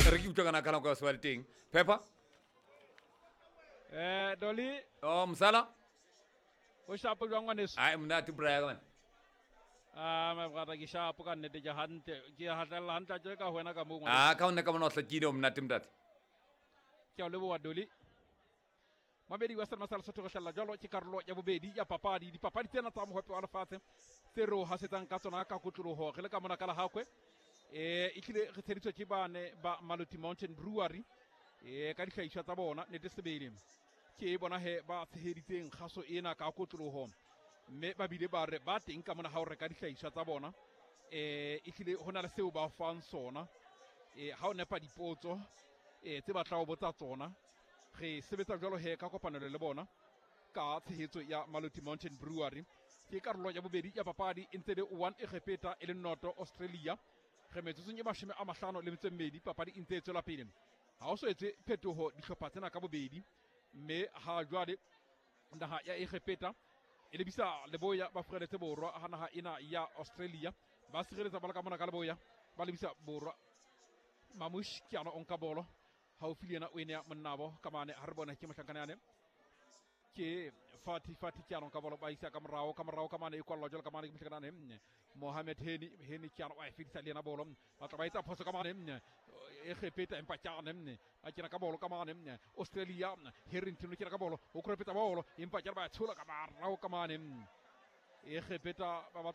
Re ke utlwa kana kana kwa se ba le teng. Pepper? Doli. Oh, msala. O shapo jwang ngwaneso? Ai monate Brian man. Ah, my brother ke shapo ka nnete ke hantle. Ke hatella hantle tje ka ho wena ka moo ngwaneso. Ah, ka hona ka mona o hlakile o monate ntate. Ke a leboha Doli. Mabedi wa Selma sa Lesotho re hlalla jwalo ke karolo ya bobedi ya papadi. Dipapadi tsena tsa mohope wa lefatshe tse re o hasetsang ka tsona ka kotloloho re le ka mona ka Lehakwe. E hlile re tsheditswe ke bane ba Maluti Mountain Brewery ka dihlahiswa tsa bona nnete sebele. Ke bona he ba tsheheditseng kgaso ena ka kotloloho, mme ba bile ba re ba teng ka mona ha o reka dihlahiswa tsa bona. E hlile ho na le seo ba fang sona ha o nepa dipotso tse batla ho botsa tsona. Re sebetsa jwalo he ka kopanelo le bona ka tshehetso ya Maluti Mountain Brewery. Ke karolo ya bobedi ya papadi e ntse le 1 Egepeta e le 0 Australia. Re metsotsong e 58 papadi e ntse e tswela pele. Ha o so etse phetoho dihlopha tsena ka bobedi, mme ha jwale naha ya Egepeta e lebisa leboya ba furaletse borwa, ha naha ena ya Australia ba sireletsa bolo ka mona ka leboya ba lebisa borwa. Mamush ke ana o nka bolo haufi le yena o ene ya monnabo ka mane. Ha re bone ke mohlankana yane ke Fati. Fati ke ano ka bolo ba isa ka morao, ka morao ka mane e kwallwa jwalo ka mane ke mohlankana yane Mohamed Heni. Heni ke ano wa e fedisa le yena bolo. Ba tla ba etsa phoso ka mane Egepeta, empa ke ane ba kena ka bolo ka mane Australia. Harrington o kena ka bolo, o korepetsa bolo, empa ke ba tshola ka marao ka mane Egepeta ba batla.